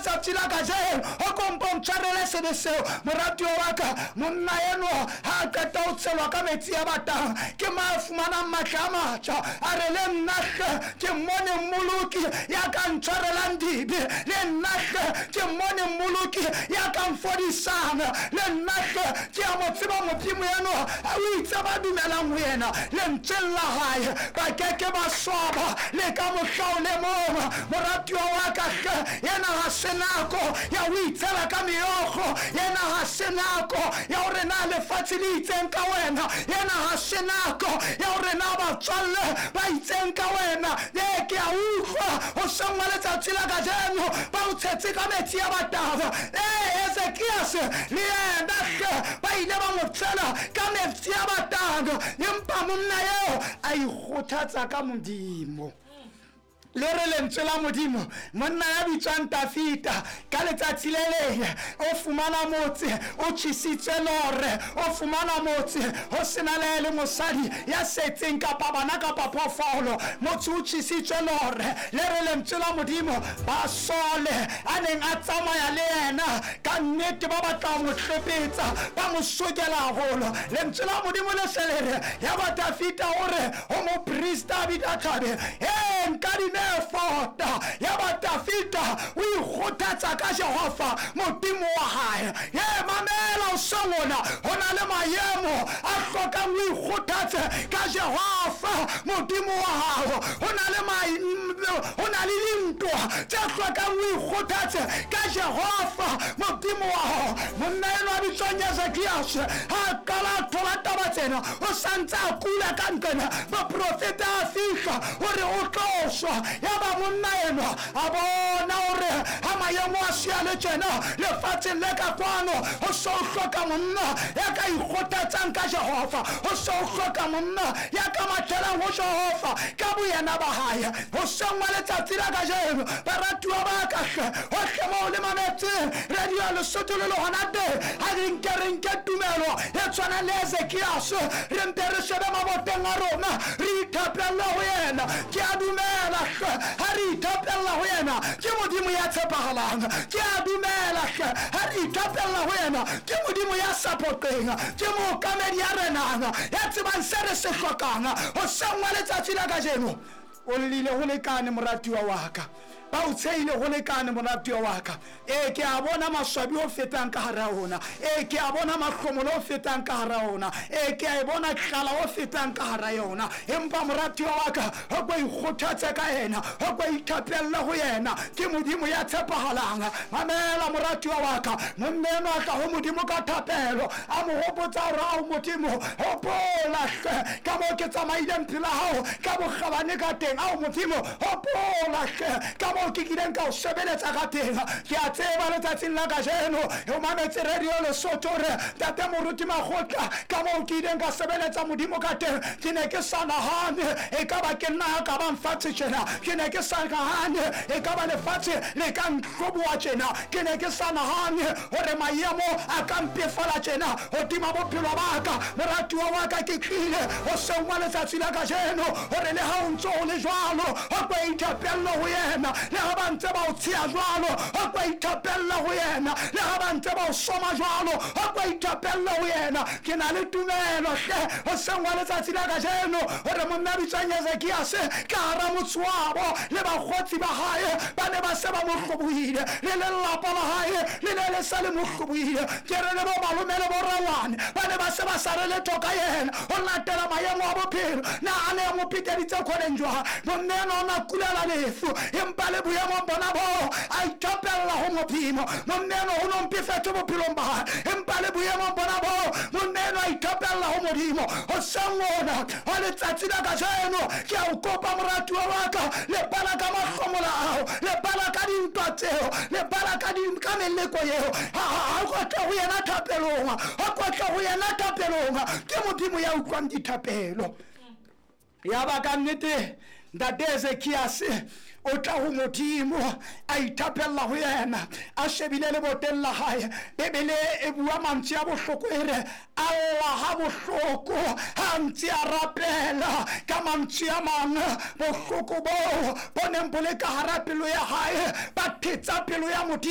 letsatsi la kajeno o kompo ntshwarele sebe seo. Moratuwa wa ka, monna enwa ha a qeta ho tshelwa ka metsi a batang, ke ma a fumanang matla a matjha. A re, le nna hle ke mmone mmoloki ya ka ntshwarelang dibe, le nna hle ke mmone mmoloki ya ka mfodisang, le nna hle ke a mo tseba Modimo enwa. O itse ba dumelang ho yena, lentsweng la hae, ba keke ba swaba le ka mohla o le mong. Moratuwa wa ka hle, yena ha se nako ya ho itshela ka meokgo, yena ha se nako ya hore na lefatshe le itseng ka wena, yena ha se nako ya hore na batswalle ba itseng ka wena. Ee, ke a utlwa hoseng wa letsatsi la kajeno ba o tshetse ka metsi a batang. Ee, Ezekiase le yena hle ba ile ba mo tshela ka metsi a batang, empa monna eo a ikgothatsa ka Modimo. Le re lentswe la Modimo, monna ya bitswang Tafita, ka letsatsi le leng o fumana motse o tjhesitswe lore, o fumana motse ho sena le le mosadi ya setseng kapa bana kapa phoofolo, motse o tjhesitswe lore. Le re lentswe la Modimo, basole a neng a tsamaya le yena ka nnete ba batla ho mo hlopetsa, ba mo sokela haholo. Lentswe la Modimo le se le re, ya ba Tafita o re ho moprista Abiathabe, e nkadime efota. Ya ba Tafita o ikgothatsa ka Jehova Modimo wa hae. E mamela o sengona, ho na le maemo a hlokang o ikgothatse ka Jehova Modimo wa hao. Ho na le ho na le dintwa tse hlokang o ikgothatse ka Jehova Modimo wa hao. Monna enwa a bitswang Ezekiase ha a qala a thola taba tsena, o santse a kula ka nqena, moprofeta a fihla hore o tlo shwa. Ya ba monna enwa a bona hore ha maemo a sia le tjena lefatsheng le ka kwano, ho so hloka monna ya ka ikgothatsang ka Jehova, ho so hloka monna ya ka mathelang ho Jehova ka boyena ba hae. Hoseng wa letsatsi la kajeno, baratuwa ba ka hle, hohle moo le mametseng radio Lesotho le le hona teng, ha re nke re nke tumelo e tshwanang le Ezekiase, re mpe re shebe maboteng a rona, re ithapelle ho yena. Ke a dumela hle, ha re ithapella ho yena, ke Modimo ya tshepahalang. Ke a dumela hle, ha re ithapella ho yena, ke Modimo ya sa phoqeng, ke mookamedi ya renang, ya tsebang se re se hlokang. Hoseng wa letsatsi la kajeno, o llile ho lekane moratuwa wa ka, ba o tshehile ho lekane moratuwa wa ka. Ee, ke a bona maswabi o fetang ka hara ona. Ee, ke a bona mahlomolo o fetang ka hara ona. Ee, ke a e bona tlala o fetang ka hara yona. Empa moratuwa wa ka, ho ko ikgothatse ka yena, ho ko ithapelle ho yena, ke Modimo ya tshepahalang. Mamela moratuwa wa ka, monna enwa a tla ho Modimo ka thapelo, a mo hopotsa hore ao Modimo, hopola hle ka moo ke tsamaileng pela hao ka bokgabane ka teng. Ao Modimo, hopola hle ka moo ke kileng ka o sebeletsa ka teng. Ke a tseba letsatsing la kajeno o mametse radio Lesotho, re ntate Moruti Makgotla, ka moo ke ileng ka sebeletsa Modimo ka teng, ke ne ke sa nahane e ka ba ke nna ya ka bang fatshe tjena, ke ne ke sa nahane e ka ba lefatshe le ka ntlhoboha tjena, ke ne ke sa nahane hore maemo a ka mpefala tjena hodima bophelo ba ka. Moratuwa wa ka, ke tlile hoseng wa letsatsi la kajeno hore le ha o ntso o le jwalo, ho ko ithapelle ho yena. Le ha ba ntse ba o tsheha jwalo, ho ko ithapelle ho yena. Le ha ba ntse ba o soma jwalo, ho ko ithapelle ho yena. Ke na le tumelo hle hoseng wa letsatsi la kajeno hore monna bitswang Ezekiase ka hara motse wabo le bakgotsi ba hae ba ne ba se ba mo hlobohile, le lelapa la hae le ne le sa le mo hlobohile. Ke re le bo malome le bo rangwane ba ne ba se ba sa re letho ka yena ho latela maemo a bophelo. Na a ne a mo peteditse kgoneng jwang? Monna enwa o na kulela lefu, empa le boemong bona boo a ithapella ho Modimo. Monna enwa o no mpefetse bophelong ba hae, empa le boemong bona boo monna enwa a ithapella ho Modimo. Hoseng ona wa letsatsi la kajeno, ke a o kopa moratuwa wa ka, lebala ka mahlomola ao, lebala ka dintwa tseo, lebala ka ka meleko eo. Ha ko tle ho yena thapelong, ha ko tle ho yena thapelong, ke Modimo ya utlwang dithapelo. Ya ba ka nnete ntate Ezekiase o tla ho Modimo, a ithapella ho yena, a shebile leboteng la hae. Bibele e bua mantswe a bohloko, e re alla ha bohloko ha ntse a rapela. Ka mantswe a mang, bohloko boo bo neng bo le ka hara pelo ya hae ba thetsa pelo ya Modimo.